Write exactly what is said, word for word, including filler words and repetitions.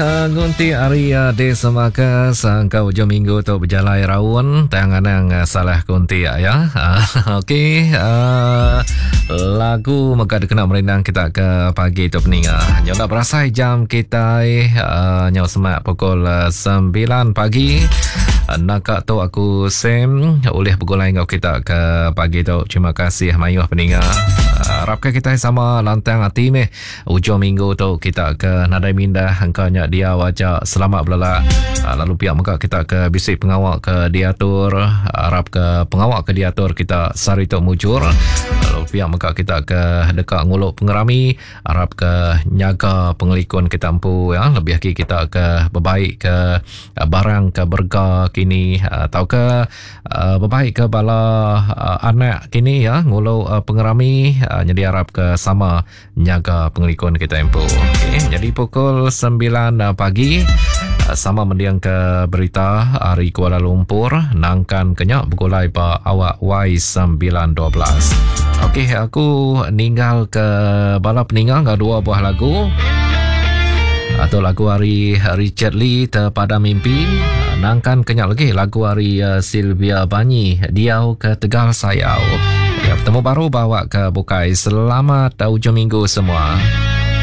Ngunti hari di semaka sangka ujung minggu tu bejalai raun tang anang salah kunti ya. Okey, uh, lagu mega dikena merindang kita ke pagi tu peninga. Nyau nak berasai jam kita uh, nyau semak pukul sembilan pagi. Naka tu aku Sam oleh bergulai ngau kita ke pagi tu. Terima kasih mayuh peninga. Harapkan kita sama lantang hati meh. Ujung minggu tu kita ke nadai mindah engkanya dia wajak selamat belelak. Lalu pihak muka kita ke bisik pengawak ke diatur. Harap ke pengawak ke diatur kita sehari tu mujur. Lalu pihak muka kita ke dekat nguluk pengerami. Harap ke nyaga pengelikun kita empu ya. Lebih lagi kita ke berbaik ke barang ke berga kini atau ke berbaik ke bala anak kini ya nguluk pengerami. Jadi harap ke sama nyaga pengelikun kita empu. Okey, jadi pukul sembilan pagi sama mendiang ke berita hari Kuala Lumpur nangkan kenyak bergulai ba awak Y sembilan dua belas. Okey, aku ninggal ke bala peninggal ke dua buah lagu. Atau lagu hari Richard Lee Terpada Mimpi. Nangkan kenyak lagi lagu hari Sylvia Banyi Diau ke Tegal Sayau. Ya, bertemu baru bawa ke Bukai. Selamat ujung minggu semua.